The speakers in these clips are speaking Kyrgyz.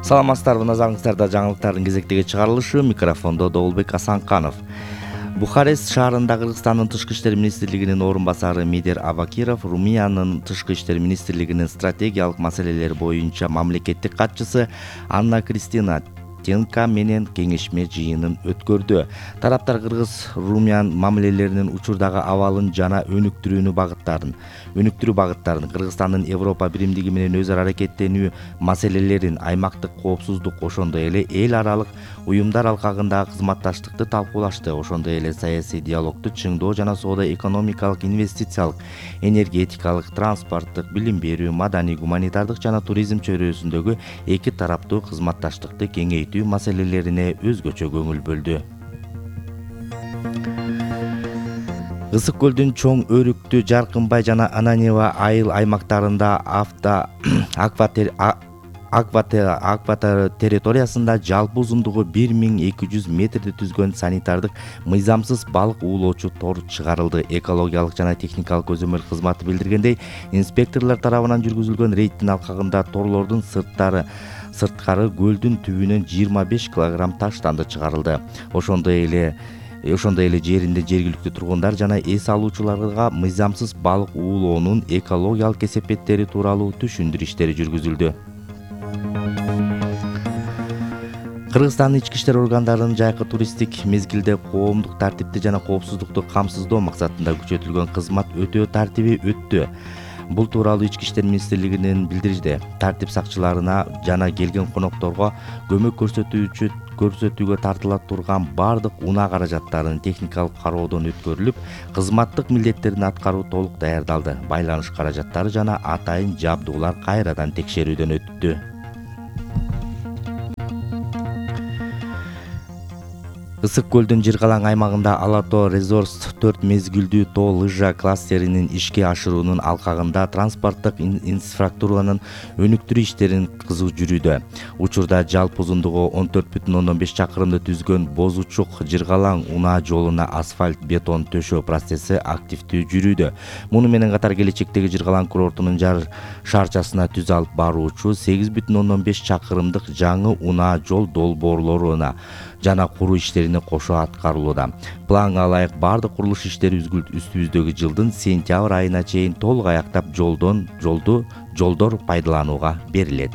Саламатсыздарбы, назарыңыздарда жаңылыктардын кезектеги чыгарылышы. Микрофондо Доолбек Асанканов. Бухарест шаарында Кыргызстандын тышкы иштер министрлигинин орун басары Медер Абакиров Румыниянын тышкы иштер министрлигинин стратегиялык маселелер боюнча мамлекеттик катчысы Анна Кристина Тенка менен кеңешме жыйынын өткөрдү. Тараптар Кыргыз-Румынян мамилелеринин учурдагы абалын жана өнүктүрүү багыттарын Кыргызстандын Европа биримдиги менен өз ара аракеттенүү маселелерин, аймактык коопсуздук, ошондой эле эл аралык уюмдар алкагындагы кызматташтыкты талкуулашты. Ошондой эле саясий диалогду чыңдоо жана соода-экономикалык, инвестициялык, энергетикалык, транспорттук, билим берүү, маданий, гуманитардык жана туризм чөйрөсүндөгү эки тараптуу кызматташтыкты кеңейтүү маселелерине өзгөчө көңүл бөлдү. Ысык көлдүн Чоң Өрүктү, Жаркынбай жана Ананьево айыл аймактарында аква территориясында жалпы узундугу 1200 метрди түзгөн санитардык мыйзамсыз балык уулоочу тор чыгарылды. Экологиялык жана техникалык көзөмөл кызматы билдиргендей, инспекторлор тарабынан жүргүзүлгөн рейдтин алкагында торлордун сырткары көлдүн түбүнөн 25 килограмм таштанды чыгарылды. Ошондой эле жеринде жергиликтүү тургундар жана эс алуучуларга мыйзамсыз балык уулоонун экологиялык кесепеттери тууралуу түшүндүрүү иштери жүргүзүлдү. Кыргызстандын ички иштер органдарынын жайкы туристтик мезгилде коомдук тартипти жана коопсуздукту камсыздоо максатында күчөтүлгөн кызмат өтөө тартиби өттү. Бул тууралуу Ички иштер министрлигинин билдирди. Тартип сакчыларына жана келген конокторго көмөк көрсөтүүгө тартыла турган бардык унаа каражаттарынын техникалык кароодон өткөрүлүп, кызматтык милдеттерин аткаруу толук даярдалды. Байланыш каражаттары жана атайын жабдуулар кайрадан текшерүүдөн өттү. Ысык көлдүн Жыргалаң аймагында Алато Resorts 4 мезгилдүү тоо лыжа кластеринин ишке ашыруунун алкагында транспорттук инфраструктуранын өнүктүрүү иштерин кызуу жүрүүдө. Учурда жалпы узундугу 14,5 чакырымды түзгөн Бозучук Жыргалаң унаа жолуна асфальт бетон төшөө процесси активдүү жүрүүдө. Муну менен катар келечектеги Жыргалаң курортунун жар шаарчасына түз алып баруучу 8,5 чакырымдык жаңы унаа жол долбоорлоруна жана куруу иштерине кошо аткарылууда. Планга ылайык бардык курулуш иштери үстүбүздөгү жылдын сентябрь айына чейин толук аяктап жолдор пайдаланууга берилет.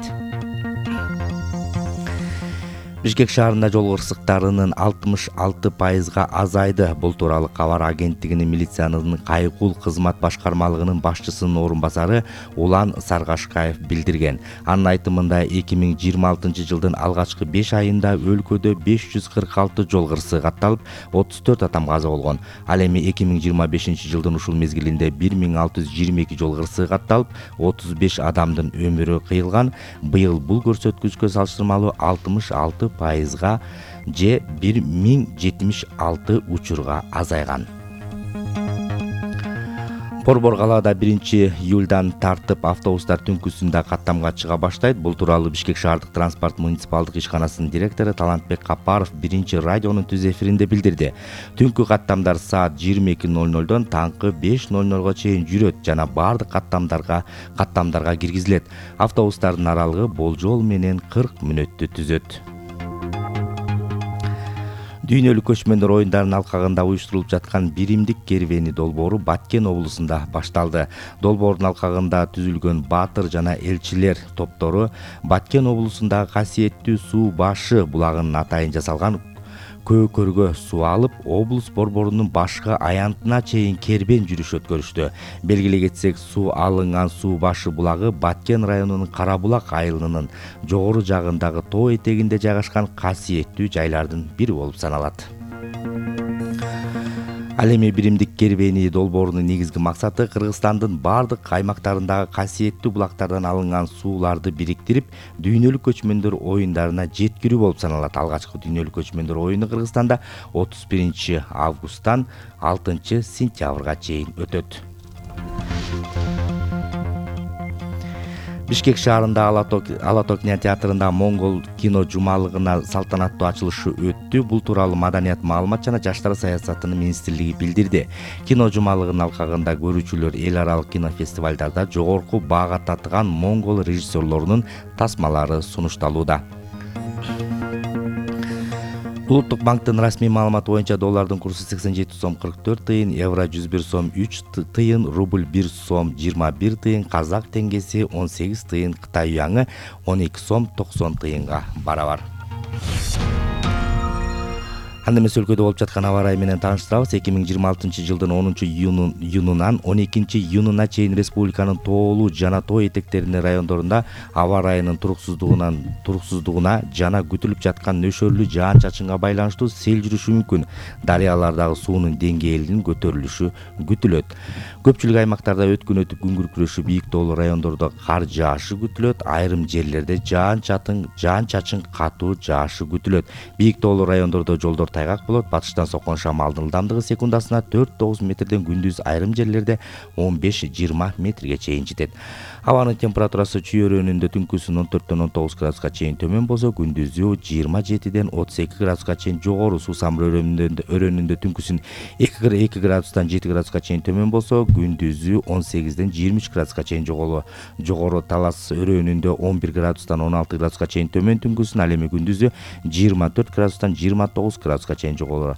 Бишкек шаарында жол кырсыктарынын 66% азайды. Бул тууралуу кабар агенттигинин милициянын кайгул кызмат башкармалыгынын башчысынын орун басары Улан Саргашкаев билдирген. Анын айтымында 2026 жылдын алгачкы 5 айында өлкөдө 546 жол кырсыгы катталып, 34 адам каза болгон. Ал эми 2025 жылдын ушул мезгилинде 1622 жол кырсыгы катталып, 35 адамдын өмүрү кыйылган. Быйыл бул көрсөткүчкө салыштырмалуу 66% же 1076 учурга азайган. Борбор калаада 1-июлдан тартып автобустар түнкүсүндө каттамга чыга баштайт. Бул тууралуу Бишкек шаардык транспорт муниципалдык ишканасынын директору Талантбек Капаров 1-радионун түз эфиринде билдирди. Түнкү каттамдар саат 22:00дон таңкы 5:00го чейин жүрөт жана бардык каттамдарга киргизилет. Автобустардын аралыгы болжол менен 40 мүнөттү түзөт. Дүйнөлүк көчмөндөр оюндарынын алкагында уюштурулуп жаткан биримдик кербени долбоору Баткен облусунда башталды. Долбоордун алкагында түзүлгөн баатыр жана элчилер топтору Баткен облусундагы касиеттүү суу башы булагынын атайын жасалган көкөргө суу алып, облус борборунун башкы аянтына чейин кербен жүрүш өткөрүштү. Белгилей кетсек, суу алынган суу башы булагы Баткен районунун Карабулак айылынын жогору жагындагы тоо этегинде жайгашкан касиеттүү жайлардын бири болуп саналат. Ал эми биримдик кербени долбоорунун негизги максаты Кыргызстандын бардык аймактарындагы касиеттүү булактардан алынган сууларды бириктирип, дүйнөлүк көчмөндөр оюндарына жеткирүү болуп саналат. Алгачкы дүйнөлүк көчмөндөр оюну Кыргызстанда 31 августтан 6 сентябрга чейин өтөт. Бишкек шаарында Алато кинотеатрында Моңгол кино жумалыгына салтанаттуу ачылышы өттү. Бул тууралуу Маданият, маалымат жана жаштар саясатынын министрлиги билдирди. Кино жумалыгынын алкагында көрүүчүлөр эл аралык кинофестивалдарда жогорку баага татыган моңгол режиссерлорунун тасмалары сунушталууда. Улуттук банктын расмий маалыматы боюнча доллардын курсу 87 сом 44 тыйын, евро 101 сом 3 тыйын, рубль 1 сом 21 тыйын, казак теңгеси 18 тыйын, Кытай юаны 12 сом 90 тыйынга барабар. Анда эмес өлкөдө болуп жаткан аба ырайы менен тааныштырабыз. 2026-жылдын 10-июнунан 12-июнуна чейин республиканын тоолуу жана тоо этектеринин райондорунда аба ырайынын туруксуздугуна жана күтүлүп жаткан нөшөрлүү жаан-чачынга байланыштуу сел жүрүшү мүмкүн. Дарыялардагы суунун деңгээлинин көтөрүлүшү күтүлөт. Көпчүлүк аймактарда өткөн күн күркүрөшү, бийик тоолуу райондордо кар жаашы күтүлөт. Айрым жерлерде жаан-чачын катуу жаашы күтүлөт. Бийик тоолуу райондордо жолдор тайгак болот. Батыштан соккон шамалдын ылдамдыгы секундасына 4-9 метрден, күндүз айрым жерлерде 15-20 метрге чейин жетет. Абанын температурасы чүй өрөөнүндө түнкүсүн 14-19 градуска чейин төмөн болсо, күндүзү 27-32 градуска чейин жогору. Суусам өрөөнүндө түнкүсүн 2 градустан 7 градуска чейин төмөн болсо, күндүзү 18-23 градуска чейин жогору. Талас өрөөнүндө 11 градустан 16 градуска чейин төмөн, түнкүсүн ал эми күндүзү 24 градустан 29 градуска чейин жогору.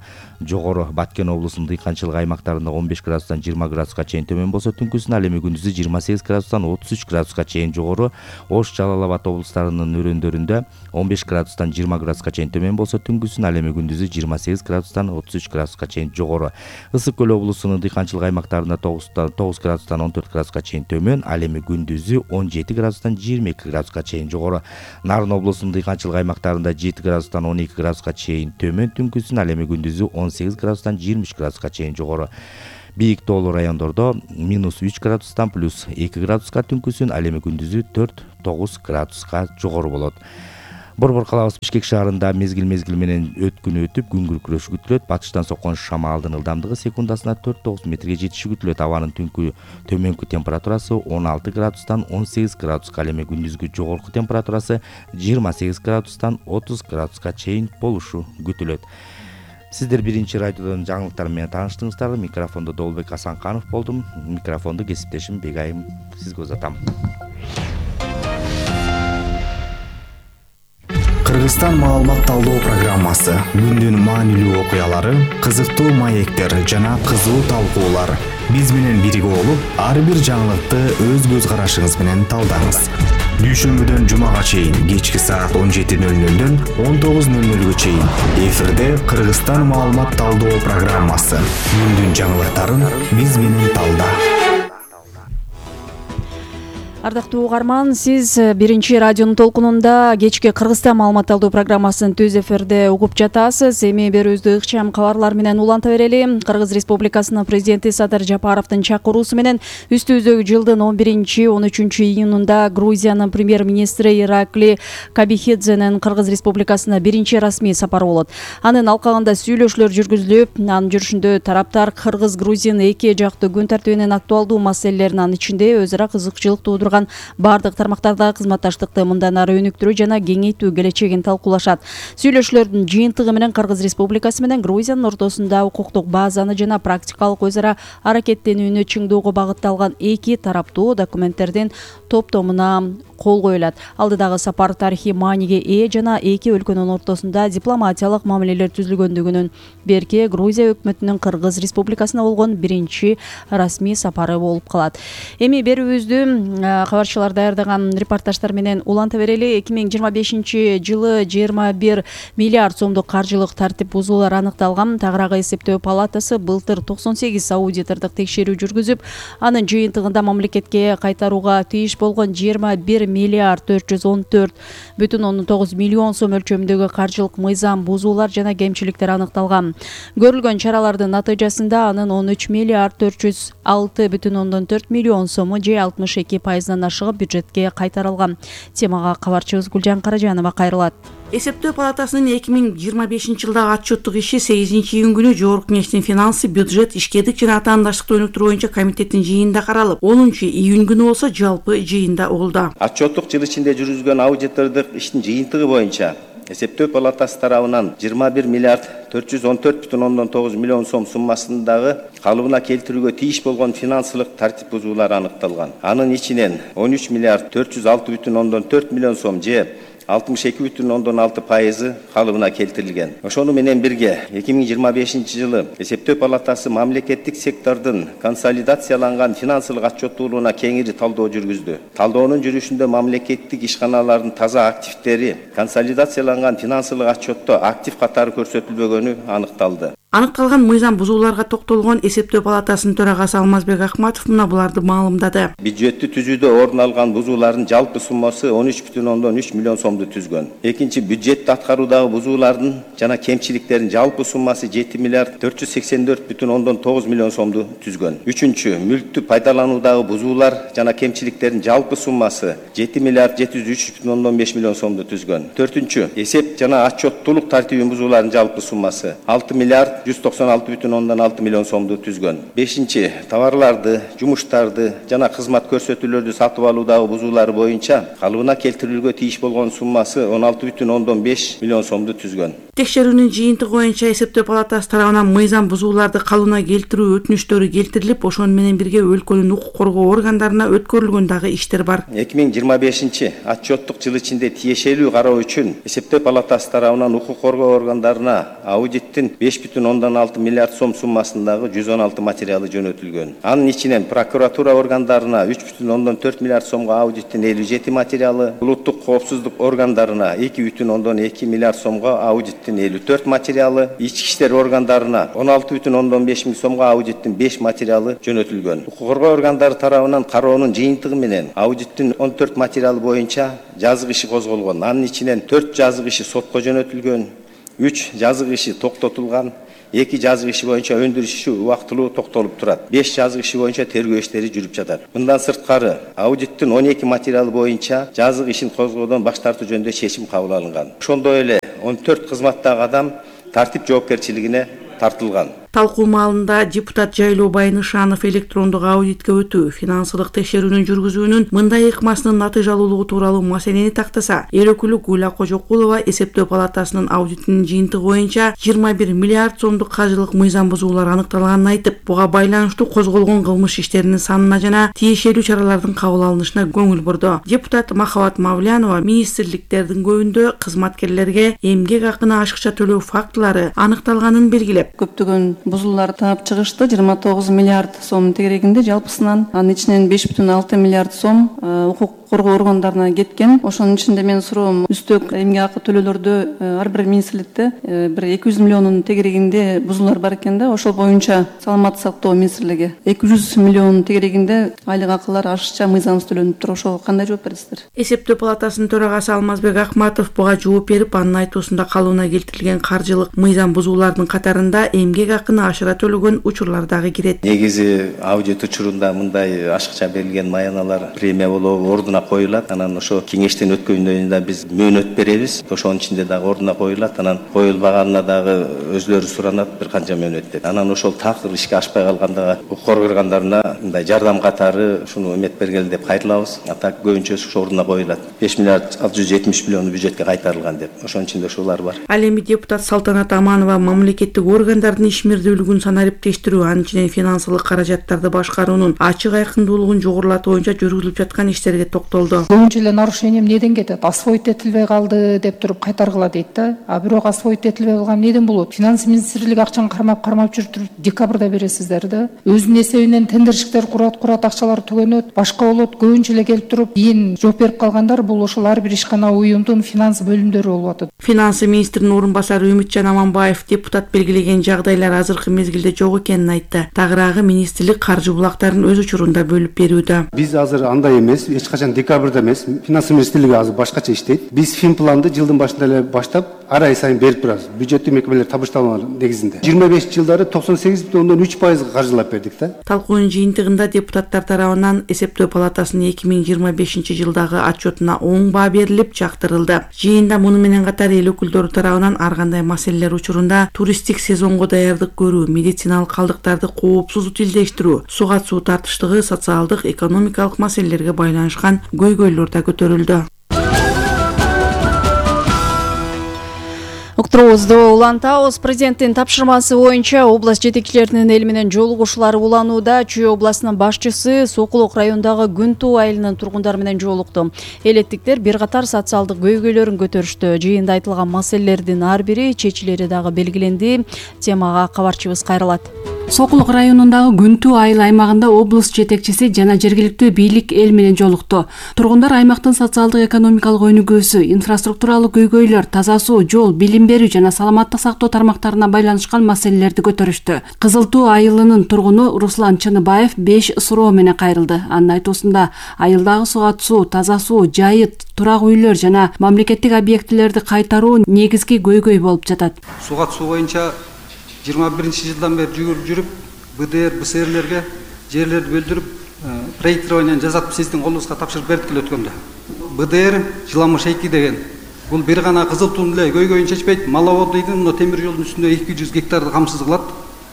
Баткен облусунун дыйканчылык аймактарында 15 градустан 20 градуска чейин төмөн болсо, түнкүсүн ал эми күндүзү 28 градустан 33 градуска чейин жогору. Ош, Жалал Абад облустарынын өрөөндөрүндө 15 градустан 20 градуска чейин төмөн болсо, түнкүсүн ал эми күндүзү 28 градустан 33 градуска чейин жогору. Ысык көл облусунун дыйканчылык аймактарында 9 градустан 14 градуска чейин төмөн, ал эми күндүзү 17 градустан 22 градуска чейин жогору. Нарын облусунун дыйканчылык аймактарында 7 градустан 12 градуска чейин төмөн, түнкүсүн ал эми күндүзү 18 градустан 23 градуска чейин жогору. Бийик тоолуу райондордо -3 градустан +2 градуска, түнкүсүн ал эми күндүзү 4-9 градуска жогору болот. Борбор калабыз Бишкек шаарында мезгил менен өткүнү өтүп, күн күркүрөшү күтүлөт. Батыштан соккон шамалдын ылдамдыгы секундасына 4-9 метрге жетиши күтүлөт. Абанын төмөнкү температурасы 16 градустан 18 градуска, ал эми күндүзгү жогорку температурасы 28 градустан 30 градуска чейин болушу күтүлөт. Сиздер биринчи радиодон жаңылыктар менен тааныштыңыздар. Микрофондо Долбек Асанканов болдум. Микрофонду кесиптешим Бегайым сизге узатам. Кыргызстан маалымат талдоо программасы, күндүн маанилүү окуялары, кызыктуу маектер жана кызуу талкуулар. Биз менен бирге болуп, ар бир жаңылыкты өз көз карашыңыз менен талдаңыз. Дүйшөмбүдөн жумага чейин кечки саат 17:00дөн 19:00 чейин эфирде Кыргызстан маалымат талдоо программасы. Күндүн жаңылыктарын биз менен талда. Ардактуу угарман, сиз биринчи радионун толкунунда кечки Кыргызстан маалымат талдоо программасын түз эфирде угуп жатасыз. Эми берүүбүздү ыкчам кабарлар менен уланта берели. Кыргыз Республикасынын президенти Садыр Жапаровдун чакыруусу менен үстүбүздөгү жылдын 11-13 июнунда Грузиянын премьер-министри Иракли Кабихидзенин Кыргыз Республикасына биринчи расмий сапары болот. Анын алкагында сүйлөшүүлөр жүргүзүлүп, анын жүрүшүндө тараптар Кыргыз-Грузин эки жактуу күн тартибинин актуалдуу маселелерин, анын ичинде өз ара кызыкчылык туудурган бардык тармактарда кызматташтыкты мындан ары өнүктүрүү жана кеңейтүү келечегин талкуулашат. Сүйлөшүүлөрдүн жыйынтыгы менен Кыргыз Республикасы менен Грузиянын ортосунда укуктук базаны жана практикалык өз ара аракеттенүүнү чыңдоого багытталган эки тараптуу документтердин топтомуна кол коюлат. Алдыдагы сапар тарыхый мааниге ээ жана эки өлкөнүн ортосунда дипломатиялык мамилелер түзүлгөндүгүнүн берки Грузия өкмөтүнүн Кыргыз Республикасына болгон биринчи расмий сапары болуп калат. Эми берүүбүздү кабарчылар даярдаган репортаждар менен уланта берели. 2025-жылы 21 миллиард сомдук каржылык тартип бузуулар аныкталган. Тагыраагы эсептөө палатасы былтыр 98 аудитордук текшерүү жүргүзүп, анын жыйынтыгында мамлекетке кайтарууга тийиш болгон 21 миллиард 414,9 миллион сом өлчөмүндөгү каржылык мыйзам бузуулар жана кемчиликтер аныкталган. Көрүлгөн чаралардын натыйжасында анын 13 миллиард 406,4 миллион сому же 62%-дан ашыгып бюджетке кайтарылган. Темага кабарчыбыз Гүлжан Каражанова кайрылат. Эсептөө палатасынын 2025-жылдагы отчеттук иши 8-июнь күнү Жогорку Кеңештин финансы, бюджет, ишкерлик жана атаандаштыкты өнүктүрүү боюнча комитеттин жыйынында каралып, 10-июнь күнү болсо жалпы жыйында болду. Отчеттук жыл ичинде жүргүзгөн аудитордук иштин жыйынтыгы боюнча эсептөө палатасы тарабынан 21 миллиард 414,9 миллион сом суммасындагы калыбына келтирүүгө тийиш болгон финансылык тартип бузуулар аныкталган. Анын ичинен 13 миллиард 406,4 миллион сом же 62,6% калыбына келтирилген. Ошону менен бирге 2025 эсептөө палатасы мамлекеттик сектордун консолидацияланган финансылык отчеттуулугуна кеңири талдоо жүргүздү. Талдоонун жүрүшүндө мамлекеттик ишканалардын таза активдери консолидацияланган финансылык отчетто актив катары көрсөтүлбөгөнү аныкталды. Аныкталган мыйзам бузууларга токтолгон эсептөө палатасынын төрагасы Алмазбек Акматов мына буларды маалымдады. Бюджетти түзүүдө орун алган бузуулардын жалпы суммасы 13,3 миллион сомду түзгөн. Экинчи, бюджетти аткаруудагы бузуулардын жана кемчиликтердин жалпы суммасы 7 миллиард 484,9 миллион сомду түзгөн. Үчүнчү, мүлктү пайдалануудагы бузуулар жана кемчиликтердин жалпы суммасы 7 миллиард 703,5 миллион сомду түзгөн. Төртүнчү, эсеп жана отчеттуулук тартибин бузуулардын жалпы суммасы 6 миллиард 196,6 миллион сомду түзгөн. Бешинчи, товарларды, жумуштарды жана кызмат көрсөтүүлөрдү сатып алуудагы бузуулар боюнча калыбына келтирилүүгө тийиш болгон суммасы 16,5 миллион сомду түзгөн. Текшерүүнүн жыйынтыгы боюнча эсептөө палатасы тарабынан мыйзам бузууларды калыбына келтирүү өтүнүштөрү келтирилип, ошону менен бирге өлкөнүн укук коргоо органдарына өткөрүлгөн дагы иштер бар. 2025 отчеттук жыл ичинде тиешелүү кароо үчүн эсептөө палатасы тарабынан укук коргоо органдарына аудиттин 5,6 миллиард сом суммасындагы 116 материалы жөнөтүлгөн. Анын ичинен прокуратура органдарына 3,4 миллиард сомго аудиттин 57 материалы, улуттук коопсуздук органдарына 2,2 миллиард сомго аудиттин 54 материалы, ички иштер органдарына 16,5 миң сомго аудиттин 5 материалы жөнөтүлгөн. Укук коргоо органдары тарабынан кароонун жыйынтыгы менен аудиттин 14 материалы боюнча жазык иши козголгон. Анын ичинен 4 жазык иши сотко жөнөтүлгөн, 3 жазык иши токтотулган, 2 жазык иши боюнча өндүрүш иши убактылуу токтолуп турат. 5 жазык иши боюнча тергөө иштери жүрүп жатат. Мындан сырткары аудиттин 12 материалы боюнча жазык ишин козгоодон баш тартуу жөнүндө чечим кабыл алынган. Ошондой эле 14 кызматтагы адам тартип жоопкерчилигине тартылган. Талкуу маалында депутат Жайлоо Байнышанов электрондук аудитке өтүү, финансылык текшерүүнүн жүргүзүүнүн мындай ыкмасынын натыйжалуулугу тууралуу маселени тактаса, эл өкүлү Гүлла Кожокулова эсептөө палатасынын аудитинин жыйынтыгы боюнча 21 миллиард сомдук каржылык мыйзам бузуулар аныкталганын айтып, буга байланыштуу козголгон кылмыш иштеринин санына жана тиешелүү чаралардын кабыл алынышына көңүл бурду. Депутат Махабат Мавлянова министрликтердин көбүндө кызматкерлерге эмгек акыны ашыкча төлөө фактылары аныкталганын белгилеп, көптөгөн бузуулар таап чыгышты. 29 миллиард сом тегерегинде жалпысынан, анын ичинен 5,6 миллиард сом укук коргоо органдарына кеткен. Ошонун ичинде мен суроом, үстөк эмгек акы төлөөлөрдө ар бир министрликте бир 200 миллионун тегерегинде бузуулар бар экен да. Ошол боюнча саламаттык сактоо министрлиги 200 миллион тегерегинде айлык акылар ашыкча мыйзамсыз төлөнүп туруп, ошого кандай жооп бересиздер? Эсептөө палатасынын төрагасы Алмазбек Акматов буга жооп берип, анын айтуусунда калыбына келтирилген каржылык мыйзам бузуулардын катарында эмгек акыны ашыра төлөгөн учурлар дагы кирет. Негизи аудит учурунда мындай ашыкча берилген маяналар премия болобу ордуна коюлат. Анан ошо кеңештен өткөндөн да биз мөөнөт беребиз. Ошонун ичинде дагы ордуна коюлат. Анан коюлбаганына дагы өзлөрү суранат, бир канча мөөнөт деп. Анан ошол такыр ишке ашпай калганда укук коргоо органдарына мындай жардам катары ушуну эмет бергиле деп кайрылабыз. А так көбүнчөсү ошо ордуна коюлат. 5 миллиард 670 миллион бюджетке кайтарылган деп. Ошонун ичинде ушулар бар. Ал эми депутат Салтанат Аманова мамлекеттик органдардын ишмердүүлүгүн санариптештирүү, анын ичинен финансылык каражаттарды башкаруунун ачык айкындуулугун жогорулатуу боюнча жүргүзүлүп жаткан иштерге токтолду. Көбүнчө эле нарушение эмнеден кетет? Освоить этилбей калды деп туруп кайтаргыла дейт да. А бирок освоить этилбей калган эмнеден болот? Финанс министрлиги акчаны кармап жүрүп декабрда бересиздер да. Өзүнүн эсебинен тендерщиктер курат, акчалар түгөнөт, башка болот. Көбүнчө эле келип туруп кийин жооп берип калгандар бул ошол ар бир ишкана уюмдун финанс бөлүмдөрү болуп атат. Финанс министринин орун басары Үмүтжан Аманбаев депутат белгилеген жагдайлар азыркы мезгилде жок экенин айтты. Тагыраагы министрлик каржы булактарын өз учурунда бөлүп берүүдө. Биз азыр андай эмес, эч качан декабрда эмес. Финанс министрлиги азыр башкача иштейт. Биз финпланды жылдын башында эле баштап ар ай сайын берип турабыз. Бюджеттик мекемелер табышталмалар негизинде. 25 жылдары 98,3% каржылап бердик да. Талкуунун жыйынтыгында депутаттар тарабынан эсептөө палатасынын 2025 жылдагы отчетуна оң баа берилип жактырылды. Жыйында муну менен катар эл өкүлдөрү тарабынан ар кандай маселелер учурунда туристтик сезонго даярдык көрүү, медициналык калдыктарды коопсуз утилдештирүү, суга суу тартыштыгы, социалдык, экономикалык маселелерге байланышкан көйгөйлөр да көтөрүлдү. Уктуруубузду улантабыз. Президенттин тапшырмасы боюнча область жетекчилеринин эл менен жолугушуулары уланууда. Чүй областынын башчысы Сокулук районундагы Күнтүү айылынын тургундары менен жолукту. Элеттиктер бир катар социалдык көйгөйлөрүн көтөрүштү. Жыйында айтылган маселелердин ар бири чечилери дагы белгиленди. Темага кабарчыбыз кайрылат. Сокулук районундагы Күнтүү айыл аймагында область жетекчиси жана жергиликтүү бийлик эл менен жолукту. Тургундар аймактын социалдык экономикалык өнүгүүсү, инфраструктуралык көйгөйлөр, таза суу, жол, билим берүү жана саламаттык сактоо тармактарына байланышкан маселелерди көтөрүштү. Кызыл Туу айылынын тургуну Руслан Чыныбаев 5 суроо менен кайрылды. Анын айтуусунда айылдагы сууат суу, таза суу, жайыт, турак үйлөр жана мамлекеттик объектилерди кайтаруу негизги көйгөй болуп жатат. Сууат суу боюнча 21-жылдан бери жүрүп, БДР, БСРлерге жерлерди бөлдүрүп, проектирование жасап сиздин колуңузга тапшырып бердик эле өткөндө. БДР Жыламыш 2 деген. Бул бир гана Кызыл Тууну эле көйгөйүн чечпейт. Маловоддойдун мына темир жолдун үстүндө 200 гектарды камсыз кылат.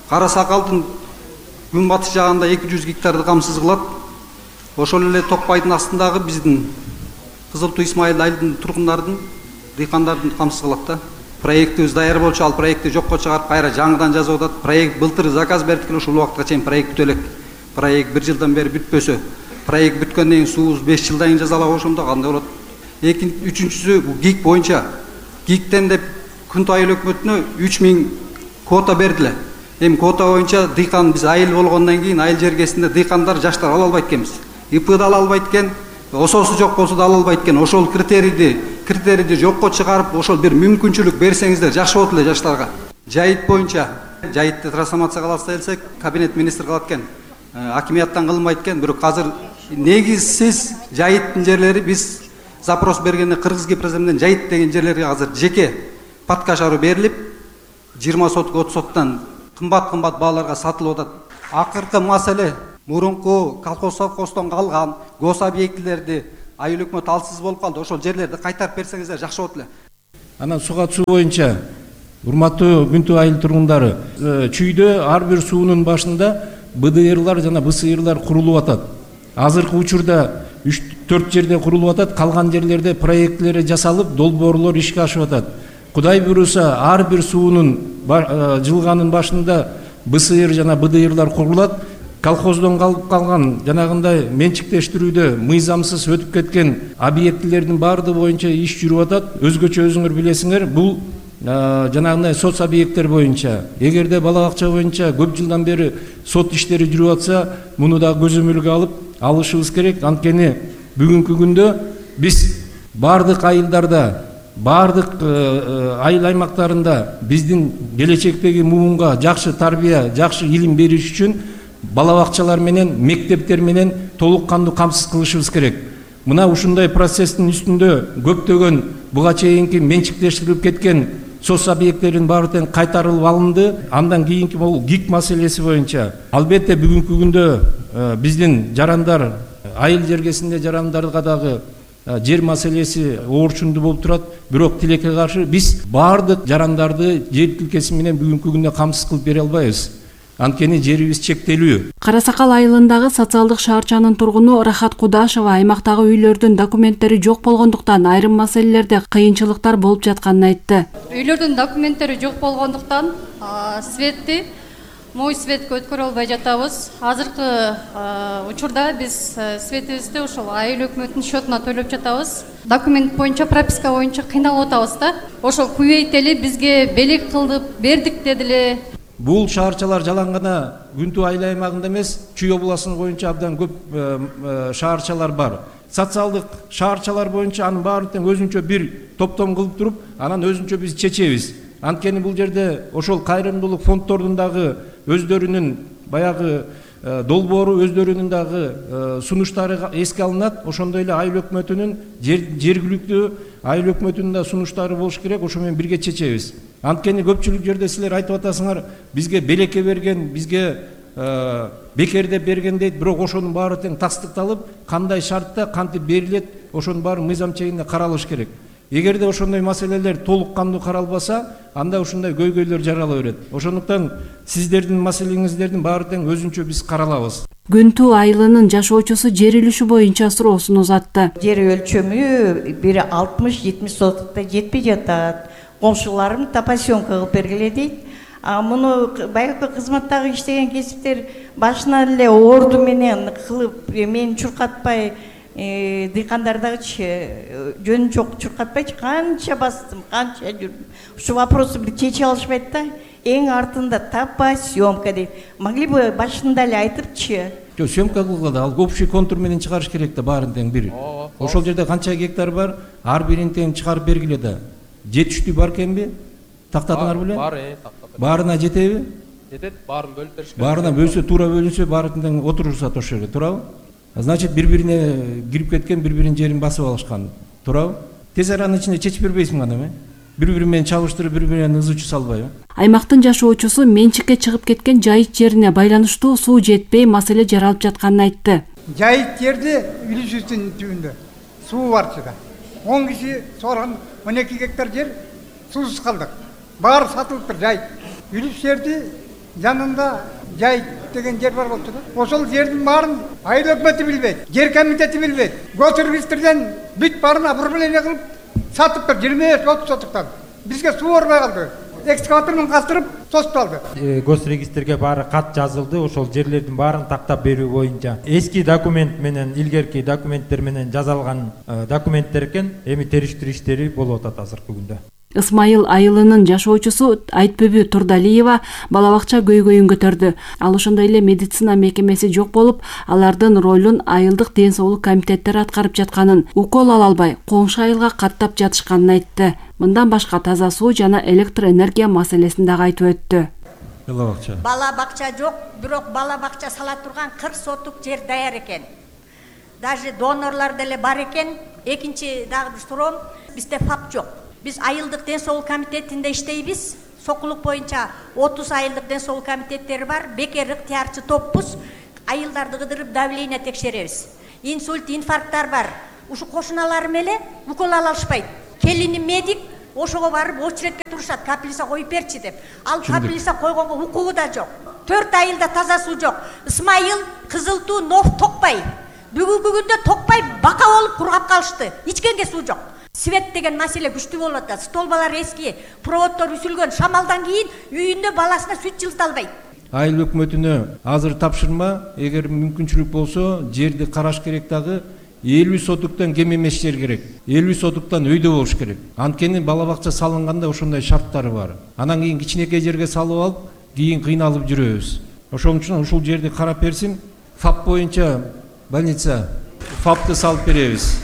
Кара Сакалдын күн батыш жагында 200 гектарды камсыз кылат. Ошол эле Токпайдын астындагы биздин Кызыл Туу Исмайыл айылдын тургундардын, дыйкандардын камсыз кылат да. Проектибиз даяр болчу, ал проектти жокко чыгарып кайра жаңыдан жазып атат. Проект былтыр заказ бердик эле, ушул убакытка чейин проект бүтө элек. Проект 1 жылдан бери бүтпөсө, проект бүткөндөн кийин суубуз 5 жылдан кийин жасалабы ошондо кандай болот? Үчүнчүсү ГИК боюнча. ГИКтен деп Күнтүү айыл өкмөтүнө 3000 квота бердиле. Эми квота боюнча дыйкан биз айыл болгондон кийин айыл жергесинде дыйкандар жаштар ала албайт экенбиз. ИП да ала албайт экен, ОСОсу жок болсо да ала албайт экен. Ошол критерийди жокко чыгарып, ошол бир мүмкүнчүлүк берсеңиздер жакшы болот эле жаштарга. Жайыт боюнча, жайытты трансформация кыласыз десек, кабинет министр кылат экен. Акимияттан кылынбайт экен, бирок азыр негизсиз жайыттын жерлери биз запрос бергенде Кыргыз Гипроземден жайыт деген жерлерге азыр жеке подкашаруу берилип, 20 сотк 30 соттан кымбат бааларга сатылып атат. Акыркы маселе мурунку колхоздон калган гос объектилерди айыл өкмөт алсыз болуп калды. Ошол жерлерди кайтарып берсеңиздер жакшы болот эле. Анан сууат суу боюнча урматтуу Күнтүү айыл тургундары, чүйдө ар бир суунун башында БДРлар жана БСРлар курулуп атат. Азыркы учурда 3-4 жерде курулуп атат, калган жерлерде проекттери жасалып, долбоорлор ишке ашып атат. Кудай буйруса, ар бир суунун жылганын башында БСР жана БДРлар курулат. Колхоздон калып калган жанагындай менчиктештирүүдө мыйзамсыз өтүп кеткен объектилердин баардыгы боюнча иш жүрүп атат. Өзгөчө өзүңөр билесиңер, бул жанагындай соц объекттер боюнча. Эгерде бала бакча боюнча көп жылдан бери сот иштери жүрүп атса, муну да көзөмөлгө алып алышыбыз керек. Анткени бүгүнкү күндө биз баардык айылдарда, баардык айыл аймактарында биздин келечектеги муунга жакшы тарбия, жакшы илим бериш үчүн бала бакчалар менен, мектептер менен толук кандуу камсыз кылышыбыз керек. Мына ушундай процесстин үстүндө көптөгөн буга чейинки менчиктештирилип кеткен соц объекттердин баары тең кайтарылып алынды. Андан кийинки бул ГИК маселеси боюнча албетте бүгүнкү күндө биздин жарандар, айыл жергесинде жарандарга дагы жер маселеси оорчундуу болуп турат. Бирок тилекке каршы биз баардык жарандарды жер тилкеси менен бүгүнкү күндө камсыз кылып бере албайбыз. Анткени жерибиз чектелүү. Кара Сакал айылындагы социалдык шаарчанын тургуну Рахат Кудашева аймактагы үйлөрдүн документтери жок болгондуктан айрым маселелерде кыйынчылыктар болуп жатканын айтты. Үйлөрдүн документтери жок болгондуктан светти мой светке өткөрө албай жатабыз. Азыркы учурда биз светибизди ошол айыл өкмөтүнүн счетуна төлөп жатабыз. Документ боюнча, прописка боюнча кыйналып атабыз да. Ошол күйөйтели бизге белек кылдып бердик дедиле. Бул шаарчалар жалаң гана Күнтүү айыл аймагында эмес, Чүй областыны боюнча абдан көп шаарчалар бар. Социалдык шаарчалар боюнча анын баарын тең өзүнчө бир топтом кылып туруп, анан өзүнчө биз чечебиз. Анткени бул жерде ошол кайрымдуулук фонддордун дагы өздөрүнүн баягы долбоору, өздөрүнүн дагы сунуштары эске алынат. Ошондой эле айыл өкмөтүнүн жергиликтүү айыл өкмөтүнүн да сунуштары болуш керек. Ошо менен бирге чечебиз. Анткени көпчүлүк жерде силер айтып атасыңар, бизге белекке берген, бизге бекерде берген дейт, бирок ошонун баары тең тастыкталып, кандай шартта кантип берилет, ошонун баары мыйзам чегинде каралыш керек. Эгерде ошондой маселелер толук кандуу каралбаса, анда ушундай көйгөйлөр жарала берет. Ошондуктан сиздердин маселеңиздердин баары тең өзүнчө биз каралабыз. Күнтүү айылынын жашоочусу жер үлүшү боюнча суроосун узатты. Жер өлчөмү бири 60-70 соткукта жетпей жатат. коңшуларым топосъемка кылып бергиле дейт. Муну байыркы кызматтагы иштеген кесиптер башынан эле орду менен кылып мени чуркатпай, дыйкандардагычы жөн жок чуркатпайчы, канча бастым, канча жүрдүм. Ушу вопросу бир чече алышпайт да. Эң артында топосъемка дейт. Могли бы башында эле айтыпчы. Жок, съемка кылганда ал общий контур менен чыгарыш керек да, баарын тең бир. Ошол жерде канча гектар бар, ар бирин тең чыгарып бергиле да. Жетиштүү бар экенби? Тактадыңар беле? Бар, тактадым. Баарына жетеби? Жетет, баарын бөлүп беришкен. Баарына бөлсө, туура бөлүнсө, баарын тең отурушат ошол жерде, туурабы? Значит, бири-бирине кирип кеткен, бири-биринин жерин басып алышкан, туурабы? Тез аранын ичинде чечип бербейсиң аны, бири-бири менен чабыштырып, бири-бирине ызычу салбайбы? Аймактын жашоочусу менчикке чыгып кеткен жайыт жерине байланыштуу суу жетпей маселе жаралып жатканын айтты. Жайыт жерде Үлүсүздүн түбүндө суу барчы да. 10 киши соргон 12 гектар жер суусуз калдык. Баары сатылыптыр жайыт. Үлүс жерди жанында жайыт деген жер бар болчу да. Ошол жердин баарын айыл өкмөтү билбейт, жер комитети билбейт. Госрегистрден бүт баарын оформление кылып сатыптыр 25-30 сотуктан. Бизге суу барбай калды. Экскаватор менен кастырып тосуп алды. Госрегистрге баары кат жазылды, ошол жерлердин баарын тактап берүү боюнча. Эски документ менен, илгерки документтер менен жазалган документтер экен, эми териштирүү иштери болуп атат азыркы күндө. Ысмайыл айылынын жашоочусу Айтбүбү Турдалиева бала бакча көйгөйүн көтөрдү. Ал ошондой эле медицина мекемеси жок болуп, алардын ролун айылдык ден соолук комитеттери аткарып жатканын, укол ала албай, коңшу айылга каттап жатышканын айтты. Мындан башка таза суу жана электр энергия маселесин дагы айтып өттү. Бала бакча жок, бирок бала бакча сала турган 40 сотук жер даяр экен. Даже донорлор деле бар экен. Экинчи дагы суроом, бизде ФАП жок. Биз айылдык ден соолук комитетинде иштейбиз. Сокулук боюнча 30 айылдык ден соолук комитеттери бар. Бекер ыктыярчы топпуз. Айылдарды кыдырып давление текшеребиз. Инсульт, инфаркттар бар. Ушу кошуналарым эле укол ала алышпайт. Келини медик, ошого барып очередке турушат, капелиса коюп берчи деп. Ал капелиса койгонго укугу да жок. 4 айылда таза суу жок. Ысмайыл, Кызылтуу, Нов, Токпай. Бүгүнкү күндө Токпай бака болуп кургап калышты. Ичкенге суу жок. Свет деген маселе күчтүү болуп атат. Столбалар эски, проводдор үсүлгөн. Шамалдан кийин үйүндө баласына сүт жылыта албайт. Айыл өкмөтүнө азыр тапшырма, эгер мүмкүнчүлүк болсо, жерди караш керек дагы. 50 сотуктан кем эмес жер керек. 50 сотуктан өйдө болуш керек. Анткени бала бакча салынганда ошондой шарттары бар. Анан кийин кичинекей жерге салып алып, кийин кыйналып жүрөбүз. Ошон үчүн ушул жерди карап берсин. ФАП боюнча больница ФАПты салып беребиз.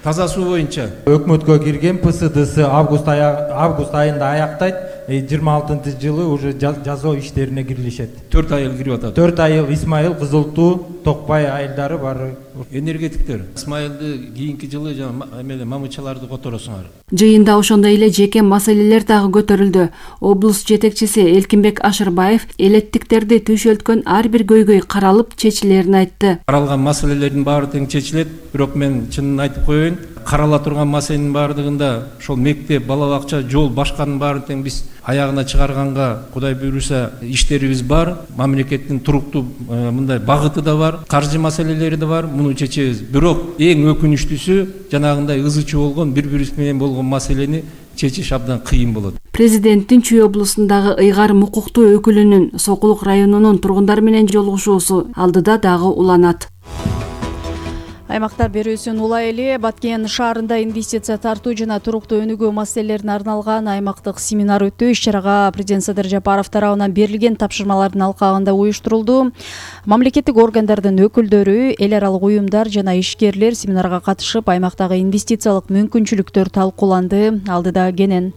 Таза суу боюнча өкмөткө кирген ПСДС август айында аяктайт. 26-жылы уже жазоо иштерине кирилишет. 4 айыл кирип атат. 4 айыл Исмайыл, Кызылтуу, Токпай айылдары бары. Энергетиктер Исмайылды кийинки жылы жана мамычаларды которосуңар. Жыйында ошондой эле жеке маселелер дагы көтөрүлдү. Облус жетекчиси Элкинбек Ашырбаев элеттиктерди түшөлткөн ар бир көйгөй каралып чечилерин айтты. Каралган маселелердин баары тең чечилет, бирок мен чынын айтып коеюн, карала турган маселенин баардыгында ошол мектеп, бала бакча, жол башканын баарын тең биз аягына чыгарганга Кудай буйруса иштерибиз бар. Мамлекеттин туруктуу мындай багыты да бар, каржы маселелери да бар. Муну чечебиз. Бирок эң өкүнүчтүүсү жанагындай ызычы болгон, бири-бириси менен болгон маселени чечиш абдан кыйын болот. Президенттин Чүй облусундагы ыйгар укуктуу өкүлүнүн Сокулук районунун тургундар менен жолугушуусу алдыда дагы уланат. Аймактар берүүсүн улай эле Баткен шаарында инвестиция тартуу жана туруктуу өнүгүү маселелерине арналган аймактык семинар өттү. Иш-чарага президент Садыр Жапаров тарабынан берилген тапшырмалардын алкагында уюштурулду. Мамлекеттик органдардын өкүлдөрү, эл аралык уюмдар жана ишкерлер семинарга катышып, аймактагы инвестициялык мүмкүнчүлүктөр талкууланды. Алдыда Кенен.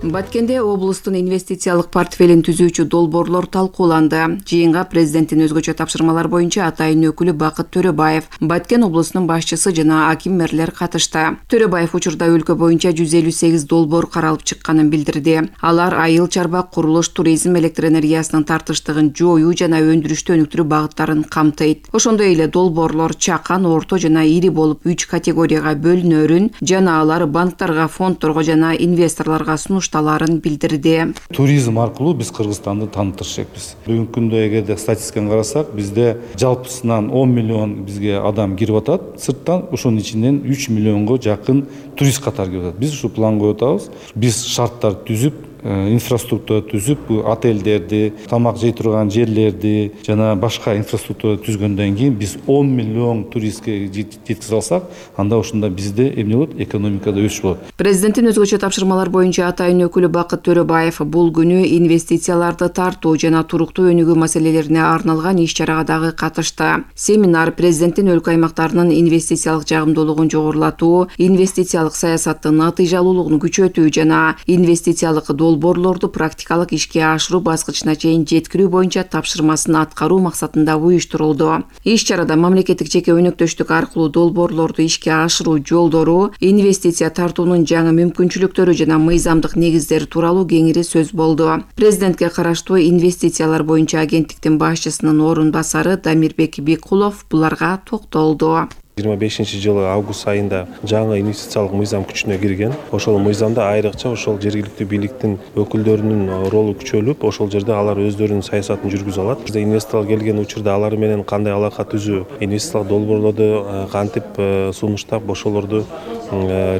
Баткенде облустун инвестициялык портфелин түзүүчү долбоорлор талкууланды. Жыйынга президенттин өзгөчө тапшырмалар боюнча атайын өкүлү Бакыт Төрөбаев, Баткен облусунун башчысы жана аким мэрлер катышты. Төрөбаев учурда өлкө боюнча 158 долбоор каралып чыкканын билдирди. Алар айыл чарба, курулуш, туризм, электр энергиясынын тартыштыгын жоюу жана өндүрүштү өнүктүрүү багыттарын камтыйт. Ошондой эле долбоорлор чакан, орто жана ири болуп 3 категорияга бөлүнөрүн жана алар банктарга, фондторго жана инвесторлорго сунуштарын башталаарын билдирди. Туризм аркылуу биз Кыргызстанды тааныттырышпыз. Бүгүнкү күндө эгерде статистиканы карасак, бизде жалпысынан 10 миллион бизге адам кирип атат сырттан, ошонун ичинен 3 миллионго жакын турист катары кирип атат. Биз ушу план коюп атабыз. Биз шарттар түзүп, инфраструктура түзүп, отелдерди, тамак жей турган жерлерди жана башка инфраструктура түзгөндөн кийин биз 10 миллион туристке жеткизе алсак, анда ошондо бизде эмне болот? Экономикада өсүш болот. Президенттин өзгөчө тапшырмалар боюнча атайын өкүлү Бакыт Төрөбаев бул күнү инвестицияларды тартуу жана туруктуу өнүгүү маселелерине арналган иш-чарага дагы катышты. Семинар президенттин өлкө аймактарынын инвестициялык жагымдуулугун жогорулатуу, инвестициялык саясаттын натыйжалуулугун күчөтүү жана инвестициялык долбоорлорду практикалык ишке ашыруу баскычына чейин жеткирүү боюнча тапшырмасын аткаруу максатында уюштурулду. Иш-чарада мамлекеттик жеке өнөктөштүк аркылуу долбоорлорду ишке ашыруу жолдору, инвестиция тартуунун жаңы мүмкүнчүлүктөрү жана мыйзамдык негиздери тууралуу кеңири сөз болду. Президентке караштуу инвестициялар боюнча агенттиктин башчысынын орун басары Дамирбек Бекулов буларга токтолду. 25-жылы август айында жаңы инвестициялык мыйзам күчүнө кирген. Ошол мыйзамда айрыкча ошол жергиликтүү бийликтин өкүлдөрүнүн ролу күчөлүп, ошол жерде алар өздөрүнүн саясатын жүргүзө алат. Бизде инвесторлор келген учурда алар менен кандай алака түзүү, инвестициялык долбоорлорду кантип сунуштап, ошолорду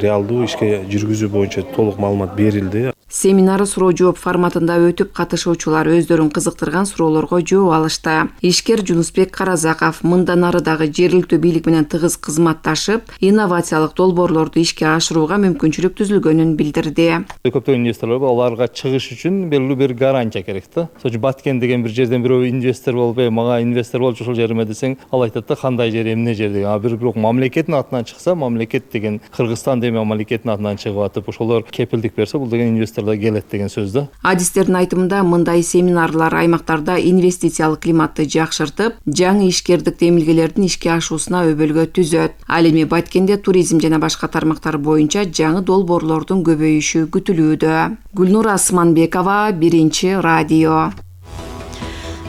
реалдуу ишке жүргүзүү боюнча толук маалымат берилди. Семинар суроо жооп форматында өтүп, катышуучулар өздөрүн кызыктырган суроолорго жооп алышты. Ишкер Жунусбек Каразаков мындан ары дагы жергиликтүү бийлик менен тыгыз кызматташып, инновациялык долбоорлорду ишке ашырууга мүмкүнчүлүк түзүлгөнүн билдирди. Көптөгөн инвесторлор бар, аларга чыгыш үчүн белгилүү бир гарантия керек да. Ошо Баткен деген бир жерден бирөө инвестор болуп, мага инвестор болчу ошол жериме десең, ал айтат да кандай жер, эмне жер деген. Бирок мамлекеттин атынан чыкса, мамлекет деген Кыргызстан деген мамлекеттин атынан чыгып атып, ошолор кепилдик берсе, бул деген инвестор келет деген сөз да. Адистердин айтымында мындай семинарлар аймактарда инвестициялык климатты жакшыртып, жаңы ишкердик демилгелердин ишке ашуусуна өбөлгө түзөт. Ал эми Баткенде туризм жана башка тармактар боюнча жаңы долбоорлордун көбөйүшү күтүлүүдө. Гүлнур Асманбекова, Биринчи радио.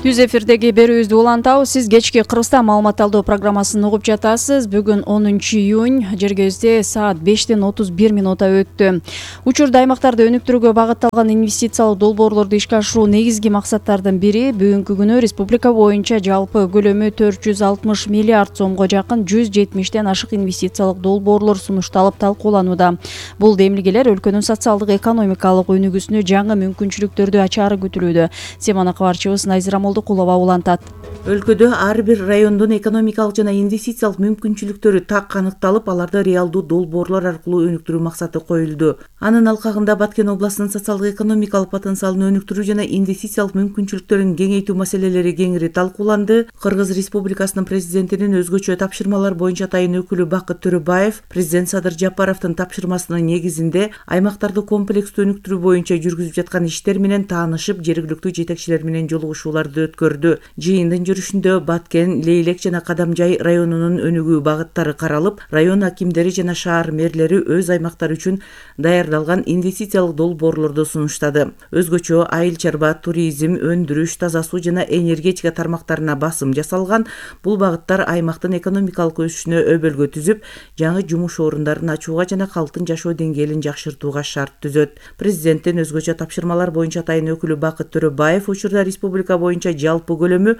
Түз эфирдеги берүүбүздү улантабыз. Сиз кечки Кыргызстан маалымат алуу программасын угуп жатасыз. Бүгүн 10 июнь, жергебизде саат 5:31 өттү. Учурда аймактарды өнүктүрүүгө багытталган инвестициялык долбоорлорду ишке ашыруу негизги максаттардын бири. Бүгүнкү күнү республика боюнча жалпы көлөмү 460 миллиард сомго жакын 170ден ашык инвестициялык долбоорлор сунушталып талкууланууда. Бул демилгелер өлкөнүн социалдык экономикалык өнүгүүсүнө жаңы мүмкүнчүлүктөрдү ачаары күтүлүүдө. Теманы кабарчыбыз Найзира Молдокулова улантат. Өлкөдө ар бир райондун экономикалык жана инвестициялык мүмкүнчүлүктөрү так аныкталып, аларды реалдуу долбоорлор аркылуу өнүктүрүү максаты коюлду. Анын алкагында Баткен областынын социалдык экономикалык потенциалын өнүктүрүү жана инвестициялык мүмкүнчүлүктөрүн кеңейтүү маселелери кеңири талкууланды. Кыргыз Республикасынын президентинин өзгөчө тапшырмалар боюнча атайын өкүлү Бакыт Төрөбаев президент Садыр Жапаровдун тапшырмасынын негизинде аймактарды комплекстүү өнүктүрүү боюнча жүргүзүп жаткан иштер менен таанышып, жергиликтүү жетекчилер менен жолугушууларды өткөрдү. Жыйындын жүрүшүндө Баткен, Лейлек жана Кадамжай районунун өнүгүү багыттары каралып, район акимдери жана шаар мэрлери өз аймактары үчүн даярдалган инвестициялык долбоорлорду сунуштады. Өзгөчө айыл чарба, туризм, өндүрүш, таза суу жана энергетика тармактарына басым жасалган. Бул багыттар аймактын экономикалык өсүшүнө өбөлгө түзүп, жаңы жумуш орундарын ачууга жана калктын жашоо деңгээлин жакшыртууга шарт түзөт. Президенттин өзгөчө тапшырмалар боюнча атайын өкүлү Бакыт Төрөбаев учурда республика боюнча жалпы көлөмү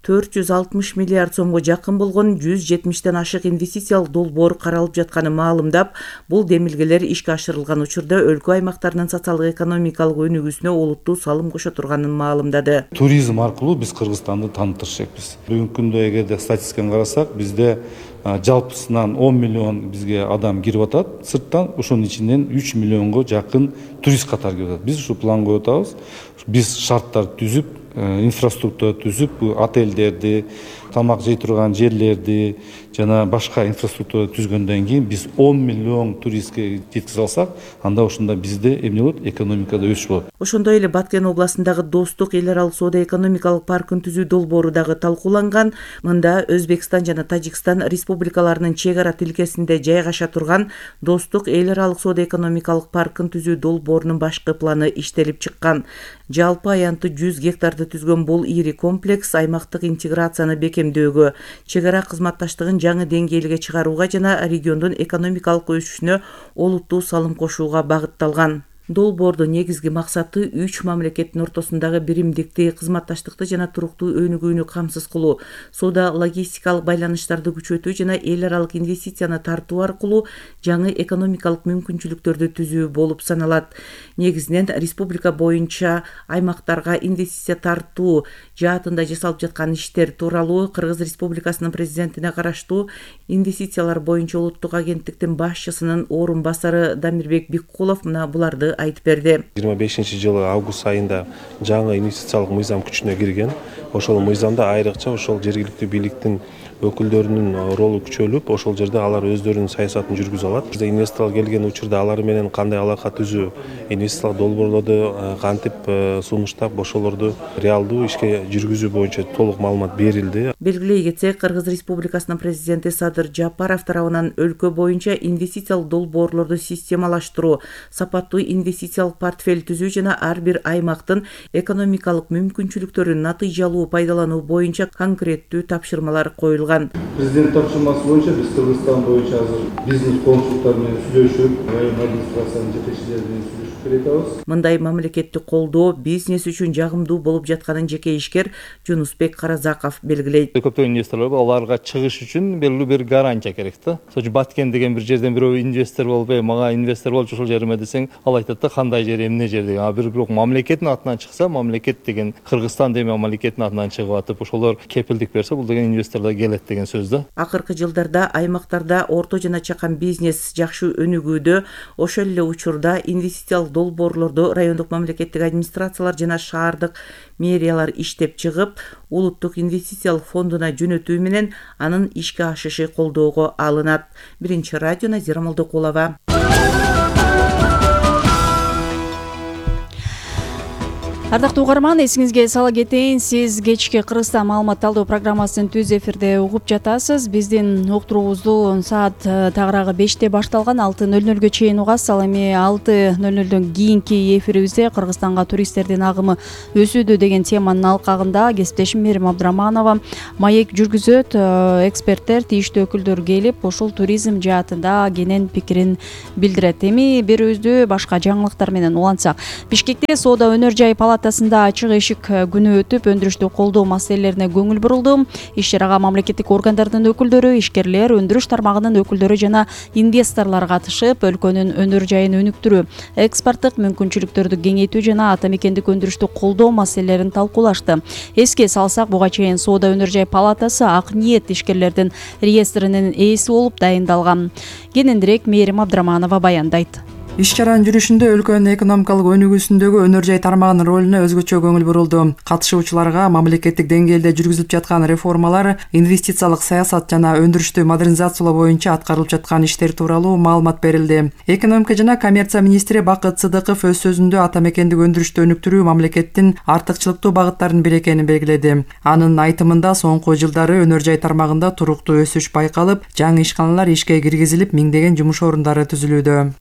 460 миллиард сомго жакын болгон 170ден ашык инвестициялык долбоор каралып жатканын маалымдап, бул демилгелер ишке ашырылган учурда өлкө аймактарынын социалдык экономикалык өнүгүүсүнө олуттуу салым кошо турганын маалымдады. Туризм аркылуу биз Кыргызстанды тааныттырышпыз. Бүгүнкү күндө эгерде статистиканы карасак, бизде жалпысынан 10 миллион бизге адам кирип атат сырттан, ошонун ичинен 3 миллионго жакын турист катары кирип атат. Биз ушу план коюп атабыз. Биз шарттар түзүп, инфраструктура түзүп, отелдерди, тамак жей турган жерлерди жана башка инфраструктура түзгөндөн кийин биз 10 миллион туристке жеткизе алсак, анда ошондо бизде эмне болот? Экономикада өсүш болот. Ошондой эле Баткен областындагы Достук эл аралык соода экономикалык паркын түзүү долбоору дагы талкууланган. Мында Өзбекстан жана Тажикстан республикаларынын чек ара тилкесинде жайгаша турган Достук эл аралык соода экономикалык паркын түзүү долбоорунун башкы планы иштелип чыккан. Жалпы аянты 100 гектарды түзгөн бул ири комплекс аймактык интеграцияны бекемдөөгө, чек ара кызматташтыгын жаңы деңгээлге чыгарууга жана региондун экономикалык өсүшүнө олуттуу салым кошууга багытталган. Долбоордун негизги максаты 3 мамлекеттин ортосундагы биримдикти, кызматташтыкты жана туруктуу өнүгүүнү камсыз кылуу, соода логистикалык байланыштарды күчөтүү жана эл аралык инвестицияны тартуу аркылуу жаңы экономикалык мүмкүнчүлүктөрдү түзүү болуп саналат. Негизинен республика боюнча аймактарга инвестиция тартуу жаатында жасалып жаткан иштер тууралуу Кыргыз Республикасынын президентине караштуу инвестициялар боюнча улуттук агенттиктин башчысынын орун басары Дамирбек Биккулов мына буларды айтып берди. 25-жылы август айында жаңы инвестициялык мыйзам күчүнө кирген. Ошол мыйзамда айрыкча ошол жергиликтүү бийликтин өкүлдөрүнүн ролу күчөлүп, ошол жерде алар өздөрүнүн саясатын жүргүзө алат. Бизде инвесторлор келген учурда алар менен кандай алака түзүү, инвестициялык долбоорлорду кантип сунуштап, ошолорду реалдуу ишке жүргүзүү боюнча толук маалымат берилди. Белгилей кетсек, Кыргыз Республикасынын президенти Садыр Жапаров тарабынан өлкө боюнча инвестициялык долбоорлорду системалаштыруу, сапаттуу инвестициялык портфель түзүү жана ар бир аймактын экономикалык мүмкүнчүлүктөрүн натыйжалуу пайдалануу боюнча конкреттүү тапшырмалар коюлган. Президент тапшырмасы боюнча биз Кыргызстан боюнча азыр бизнес консулттар менен сүйлөшүп, район администрациянын жетекчилери менен сүйлөшүп келатабыз. Мындай мамлекеттик колдоо бизнес үчүн жагымдуу болуп жатканын жеке ишкер Жунусбек Каразаков белгилейт. Көптөгөн инвесторлор аларга чыгыш үчүн белгилүү бир гарантия керек да. Сочу Баткен деген бир жерден бирөө инвестор болбой, мага инвестор болчу ушул жериме десең, ал айтат да кандай жер, эмне жер деген. Бирок мамлекеттин атынан чыкса, мамлекет деген Кыргызстан деген мамлекеттин атынан чыгып атып, ошолор кепилдик берсе, бул деген инвесторлор келет деген сөз да. Акыркы жылдарда аймактарда орто жана чакан бизнес жакшы өнүгүүдө, ошол эле учурда инвестициялык долбоорлорду райондук мамлекеттик администрациялар жана шаардык мэриялар иштеп чыгып, улуттук инвестициялык фондуна жөнөтүү менен анын ишке ашышы колдоого алынат. Биринчи радио Назира Молдокулова. Ардактуу угарман, эсиңизге сала кетейин, сиз кечки Кыргызстан маалымат талдоо программасын түз эфирде угуп жатасыз. Биздин уктуруубузду саат тагыраагы 5те башталган 6:00 чейин угасыз. Ал эми 6:00 кийинки эфирибизде Кыргызстанга туристтердин агымы өсүүдө деген теманын алкагында кесиптешим Мерим Абдыраманова маек жүргүзөт. Эксперттер, тийиштүү өкүлдөр келип, ушул туризм жаатында кенен пикирин билдирет. Эми берүүбүздү башка жаңылыктар менен улантсак, Бишкекте соода өнөр жай палатасында ачык эшик күнү өтүп, өндүрүштү колдоо маселелерине көңүл бурулду. Иш чарага мамлекеттик органдардын өкүлдөрү, ишкерлер, өндүрүш тармагынын өкүлдөрү жана инвесторлор катышып, өлкөнүн өнөр жайын өнүктүрүү, экспорттук мүмкүнчүлүктөрдү кеңейтүү жана ата мекендик өндүрүштү колдоо маселелерин талкуулашты. Эске салсак, буга чейин соода өнөр жай палатасы ак ниет ишкерлердин реестринин ээси болуп дайындалган. Кененирээк Мерим Абдыраманова баяндайт. Иш чаранын жүрүшүндө өлкөнүн экономикалык өнүгүүсүндөгү өнөр жай тармагынын ролуна өзгөчө көңүл бурулду. Катышуучуларга мамлекеттик деңгээлде жүргүзүлүп жаткан реформалар, инвестициялык саясат жана өндүрүштү модернизациялоо боюнча аткарылып жаткан иштер тууралуу маалымат берилди. Экономика жана коммерция министри Бакыт Сыдыков өз сөзүндө ата мекендик өндүрүштү өнүктүрүү мамлекеттин артыкчылыктуу багыттарынын бири экенин белгиледи. Анын айтымында соңку жылдары өнөр жай тармагында туруктуу өсүш байкалып, жаңы ишканалар ишке киргизилип, миңдеген жумуш орундары түзүлүүдө.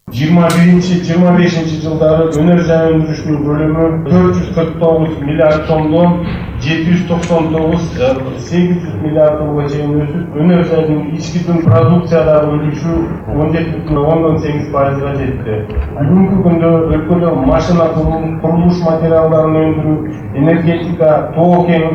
25 жылдары өнөр жай өндүрүшүнүн көлөмү 449 миллиард сомдон 799,8 миллиард сомго чейин өсүп, өнөр жайдын ички продукциядагы үлүшү 17,8%га жетти. Бүгүнкү күндө өлкөдө машина курулуш материалдарын өндүрүү, энергетика, тоо кен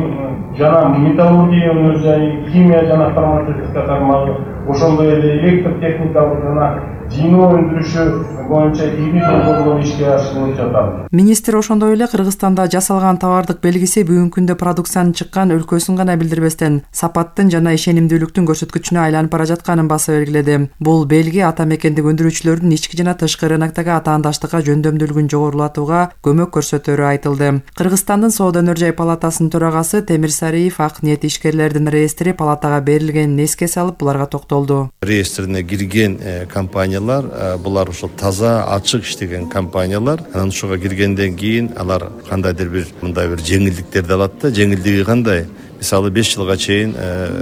жана металлургия өнөр жайы, химия жана фармацевтика тармагы, ошондой эле электр техникалык жана жиноо өндүрүшү боюнча ири долбоорлор ишке ашырылып жатат. Министр ошондой эле Кыргызстанда жасалган товардык белгиси бүгүнкү күндө продукциянын чыккан өлкөсүн гана билдирбестен, сапаттын жана ишенимдүүлүктүн көрсөткүчүнө айланып бара жатканын басып белгиледи. Бул белги ата мекендик өндүрүүчүлөрдүн ички жана тышкы рыноктогу атаандаштыкка жөндөмдүүлүгүн жогорулатууга көмөк көрсөтөрү айтылды. Кыргызстандын соода өнөр жай палатасынын төрагасы Темир Сариев ак ниет ишкерлердин реестри палатага берилгенин эске салып, буларга токтолду. Реестрине кирген компаниялар, булар ошол таза, ачык иштеген компаниялар. Анан ошого киргенден кийин алар кандайдыр бир мындай бир жеңилдиктерди алат да. Жеңилдиги кандай? Мисалы 5 жылга чейин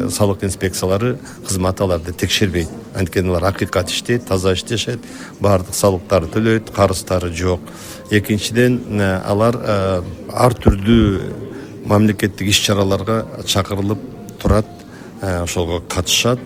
салык инспекциялары кызмат аларды текшербейт. Анткени алар акыйкат иштейт, таза иштешет, баардык салыктарды төлөйт, карыздары жок. Экинчиден, алар ар түрдүү мамлекеттик иш чараларга чакырылып турат. ошого катышат.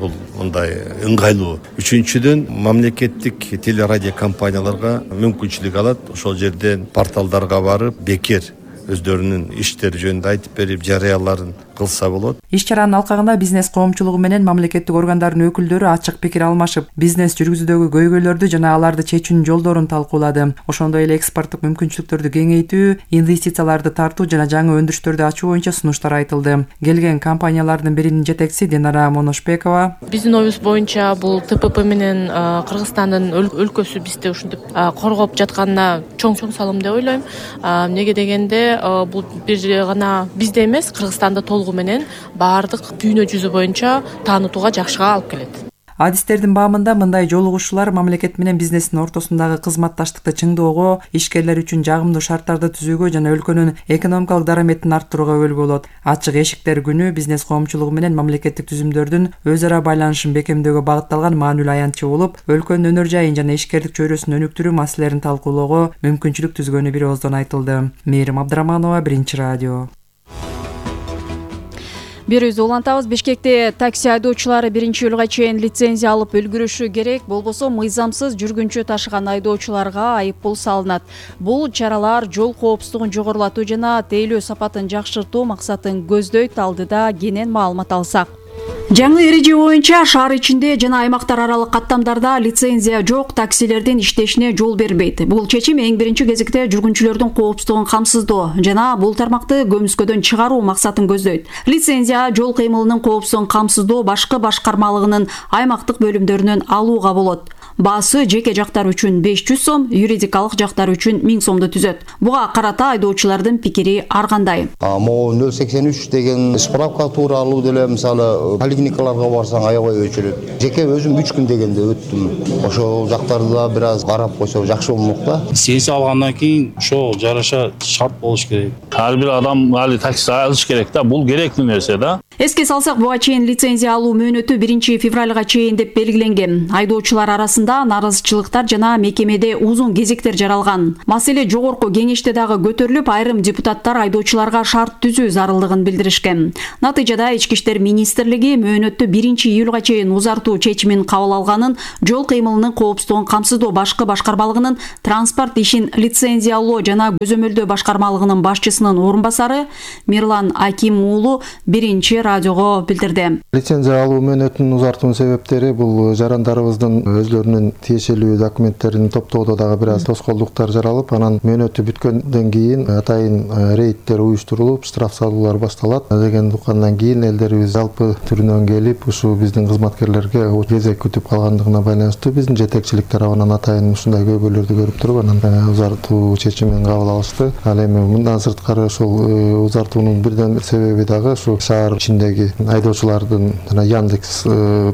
Бул мындай ыңгайлуу. Үчүнчүдөн мамлекеттик телерадио компанияларга мүмкүнчүлүк алат ошол жерден порталдарга барып бекер өздөрүнүн иштери жөнүндө айтып берип жарыяларын кылса болот. Иш чаранын алкагында бизнес коомчулугу менен мамлекеттик органдардын өкүлдөрү ачык пикир алмашып, бизнес жүргүзүүдөгү көйгөйлөрдү жана аларды чечүүнүн жолдорун талкуулады. Ошондой эле экспорттук мүмкүнчүлүктөрдү кеңейтүү, инвестицияларды тартуу жана жаңы өндүрүштөрдү ачуу боюнча сунуштар айтылды. Келген компаниялардын биринин жетекчиси Динара Моношбекова: Биздин оюбуз боюнча бул ТПП менен Кыргызстандын өлкөсү бизди ушинтип коргоп жатканына чоң салым деп ойлойм. Эмнеге дегенде бул бир гана бизде эмес, Кыргызстанда толугу менен баардык дүйнө жүзү боюнча таанытууга жакшыга алып келет. Адистердин баамында мындай жолугушуулар мамлекет менен бизнестин ортосундагы кызматташтыкты чыңдоого, ишкерлер үчүн жагымдуу шарттарды түзүүгө жана өлкөнүн экономикалык дараметин арттырууга өбөлгө болот. Ачык эшиктер күнү бизнес коомчулугу менен мамлекеттик түзүмдөрдүн өз ара байланышын бекемдөөгө багытталган маанилүү аянтчы болуп, өлкөнүн өнөр жайын жана ишкердик чөйрөсүн өнүктүрүү маселелерин талкуулоого мүмкүнчүлүк түзгөнү бир ооздон айтылды. Мээрим Абдыраманова, Биринчи радио. Бир өзү улантабыз. Бишкекте такси айдоочулары 1-июлга чейин лицензия алып үлгүрүшү керек, болбосо мыйзамсыз жүргүнчү ташыган айдоочуларга айыппул салынат. Бул чаралар жол коопсуздугун жогорулатуу жана тейлөө сапатын жакшыртуу максатын көздөйт, алдыда кенен маалымат алсак. Жаңы эреже боюнча шаар ичинде жана аймактар аралык каттамдарда лицензия жок таксилердин иштешине жол бербейт. Бул чечим эң биринчи кезекте жүргүнчүлөрдүн коопсуздугун камсыздоо жана бул тармакты көмүскөдөн чыгаруу максатын көздөйт. Лицензия жол кыймылынын коопсуздугун камсыздоо башкы башкармалыгынын аймактык бөлүмдөрүнөн алууга болот. Баасы жеке жактар үчүн 500 сом, юридикалык жактар үчүн 1000 сомду түзөт. Буга карата айдоочулардын пикири ар кандай? Могу 083 деген справка тууралуу деле мисалы поликлиникаларга барсаң аябай өчүрөт. Жеке өзүм 3 күн дегенде өттүм. Ошол жактарды да бир аз карап койсо жакшы болмок да. Лицензия алгандан кийин ошо жараша шарт болуш керек. Ар бир адам али такси алыш керек да, бул керектүү нерсе да. Эске салсак, буга чейин лицензия алуу мөөнөтү 1-февралга чейин деп белгиленген. Айдоочулар арасында наразычылыктар жана мекемеде узун кезектер жаралган. Маселе жогорку кеңеште дагы көтөрүлүп, айрым депутаттар айдоочуларга шарт түзүү зарылдыгын билдиришкен. Натыйжада Ички иштер министрлиги мөөнөттү 1-июлга чейин узартуу чечимин кабыл алганын жол кыймылынын коопсуздугун камсыздоо башкы башкармалыгынын транспорт ишин лицензиялоо жана көзөмөлдөө башкармалыгынын башчысынын орун басары Мирлан Аким уулу 1 радиого билдирди. Лицензия алуу мөөнөтүнүн узартуунун себептери бул жарандарыбыздын өзлөрүнүн тиешелүү документтерин топтоодо дагы бир аз тоскоолдуктар жаралып, анан мөөнөтү бүткөндөн кийин атайын рейдтер уюштурулуп, штраф салуулар башталат деген уккандан кийин элдерибиз жалпы түрүнөн келип, ушу биздин кызматкерлерге кезек күтүп калгандыгына байланыштуу биздин жетекчилик тарабынан атайын ушундай көйгөйлөрдү көрүп туруп, анан узартуу чечимин кабыл алышты. Ал эми мындан сырткары ошол узартуунун бирден себеби дагы ушу шаар ичиндеги айдоочулардын жана Яндекс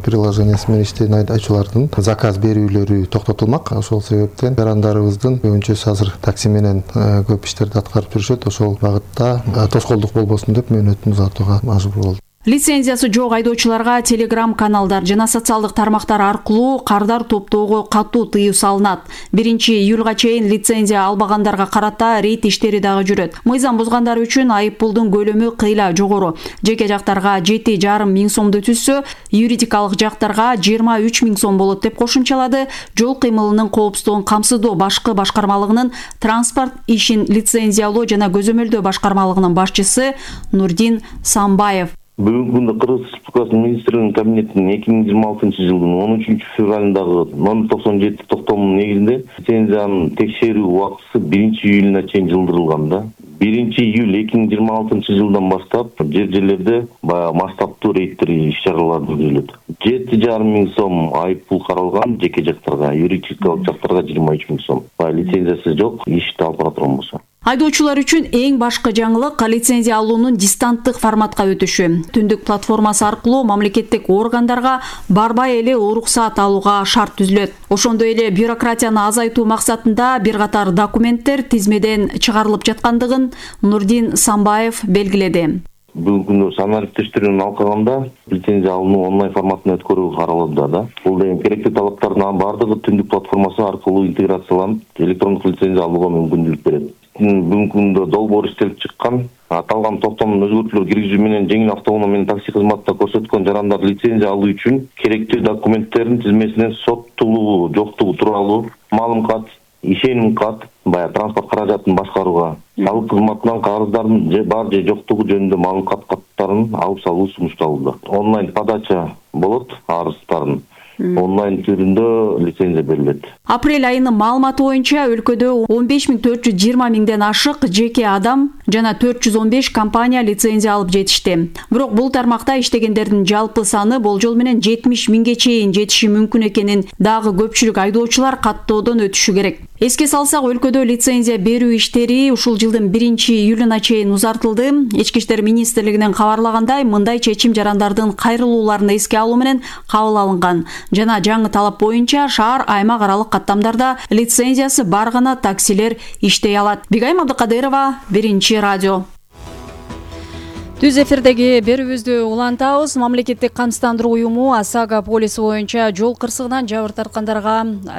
приложениясы менен иштеген айдоочулардын заказ берүүлөрү токтотулмак. Ошол себептен жарандарыбыздын көбүнчөсү азыр такси менен көп иштерди аткарып жүрүшөт. Ошол багытта тоскоолдук болбосун деп мөөнөтүн узартууга мажбур болду. Лицензиясы жок айдоочуларга Telegram каналдар жана социалдык тармактар аркылуу кардар топтоого катуу тыюу салынат. 1-июлга чейин лицензия албагандарга карата рейд иштери дагы жүрөт. Мыйзам бузгандар үчүн айыппулдун көлөмү кыйла жогору. Жеке жактарга 7,5 миң сомду түзсө, юридикалык жактарга 23 миң сом болот деп кошумчалады жол кыймылынын коопсуздугун камсыздоо башкы башкармалыгынын транспорт ишин лицензиялоо жана көзөмөлдөө башкармалыгынын башчысы Нурдин Самбаев. Бүгүнкү күндө Кыргыз Республикасынын министрлигинин кабинетинин 2026-жылдын 13-февралындагы номер 97 токтомунун негизинде лицензиянын текшерүү убактысы 1-июлуна чейин жылдырылган да. 1-июль 2026-жылдан баштап жерлерде баягы масштабтуу рейдтер иш-чаралар жүргүзүлөт. 7,5 миң сом айыппул каралган жеке жактарга, юридикалык жактарга 23 миң сом. Лицензиясы жок, ишти алып бара турган болсо. Айдоочулар үчүн эң башкы жаңылык лицензия алуунун дистанттык форматка өтүшү. Түндүк платформасы аркылуу мамлекеттик органдарга барбай эле уруксаат алууга шарт түзүлөт. Ошондой эле бюрократияны азайтуу максатында бир катар документтер тизмеден чыгарылып жаткандыгын Нурдин Самбаев белгиледи. Бүгүнкү күндө санарип тештирүүнүн алкагында лицензия алууну онлайн форматында өткөрүү каралууда да. Бул деген керектүү талаптардын бардыгы түндүк платформасы аркылуу интеграцияланып, электрондук лицензия алууга мүмкүнчүлүк берет. Бүгүнкү күндө долбоор иштелип чыккан, аталган токтомдун өзгөртүүлөр киргизүү менен жеңил автоунаа менен такси кызматында көрсөткөн жарандар лицензия алуу үчүн керектүү документтердин тизмесинен соттуулугу жоктугу тууралуу маалым кат, ишеним кат, баягы транспорт каражатын башкарууга, салык кызматынан кагыздардын бар же жоктугу жөнүндө маалымат каттарын алып салуу сунушталууда. Онлайн подача болот, арыздардын онлайн түрүндө лицензия берилет. Апрель айынын маалыматы боюнча өлкөдө 15.420 миңден ашык жеке адам жана 415 компания лицензия алып жетишти. Бирок бул тармакта иштегендердин жалпы саны болжол менен 70 миңге чейин жетиши мүмкүн экенин дагы көпчүлүк айдоочулар каттоодон өтүшү керек. Эске салсак, өлкөдө лицензия берүү иштери ушул жылдын 1-июлуна чейин узартылды. Ички иштер министрлигинин кабарлагандай, мындай чечим жарандардын кайрылууларын эске алуу менен кабыл алынган. Жана жаңы талап боюнча шаар аймак аралык каттамдарда лицензиясы бар гана таксилер иштей алат. Бигайым Абдыкадырова, 1-радио. Түз эфирдеги берүүбүздү улантабыз. Мамлекеттик камсыздандыруу уюму ОСАГО полиси боюнча жол кырсыгынан жабыр тарткандарга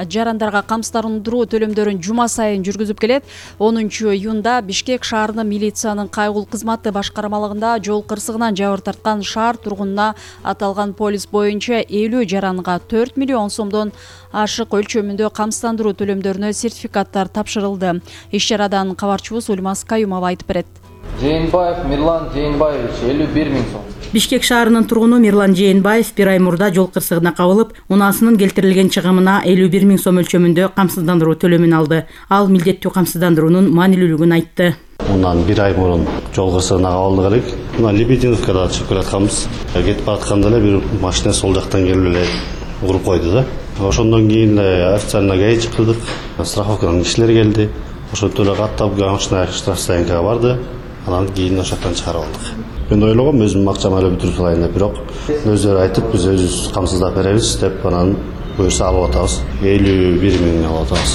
жарандарга камсыздандыруу төлөмдөрүн жума сайын жүргүзүп келет. 10-июнда Бишкек шаарынын милициянын кайгыл кызматы башкармалыгында жол кырсыгынан жабыр тарткан шаар тургунуна аталган полис боюнча 50 жаранга 4 миллион сомдон ашык өлчөмүндө камсыздандыруу төлөмдөрүнө сертификаттар тапшырылды. Иш чарадан кабарчыбыз Ульмас Каюмова айтып берет. Жээнбаев Мирлан Жээнбаевич 51 миң сом. Бишкек шаарынын тургуну Мирлан Жээнбаев бир ай мурда жол кырсыгына кабылып, унаасынын келтирилген чыгымына 51 миң сом өлчөмүндө камсыздандыруу төлөмүн алды. Ал милдеттүү камсыздандыруунун маанилүүлүгүн айтты. Ундан бир ай мурун жол кырсыгына кабылдык элек. Мына Лебединовкада чыгып келатканбыз. Кетип баратканда эле бир машина сол жактан келип эле уруп койду да. Ошондон кийин официально ГАИ чакырдык. Страховканын кишилери келди. Ошентип эле каттап машина штрафстоянкага барды. Анан кийин ошоктон чыгарып алдык. Мен ойлогом өзүм акчамды эле бүтүрүп салайын деп, бирок өздөрү айтып, биз өзүбүз камсыздап беребиз деп, анан буюрса алып атабыз. 51 миң алып атабыз.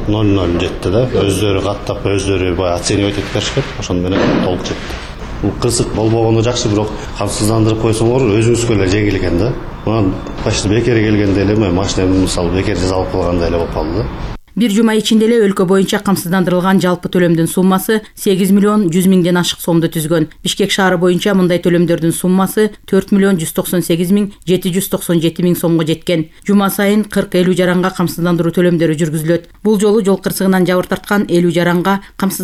00 жетти да. Өздөрү каттап, өздөрү баягы оценивать этип беришкен. Ошону менен толук жетти. Бул кырсык болбогону жакшы, бирок камсыздандырып койсоңор өзүңүзгө эле жеңил экен да. Анан почти бекер келгенде эле машинамды мисалы бекер жазалып калгандай эле болуп калды да. Бир жума ичинде эле өлкө боюнча камсыздандырылган жалпы төлөмдүн суммасы 8 миллион 100 миңден ашык сомду түзгөн. Бишкек шаары боюнча мындай төлөмдөрдүн суммасы 4 миллион 198 миң 797 миң сомго жеткен. Жума сайын 40-50 жаранга камсыздандыруу төлөмдөрү жүргүзүлөт. Бул жолу жол кырсыгынан жабыр тарткан 50 жаранга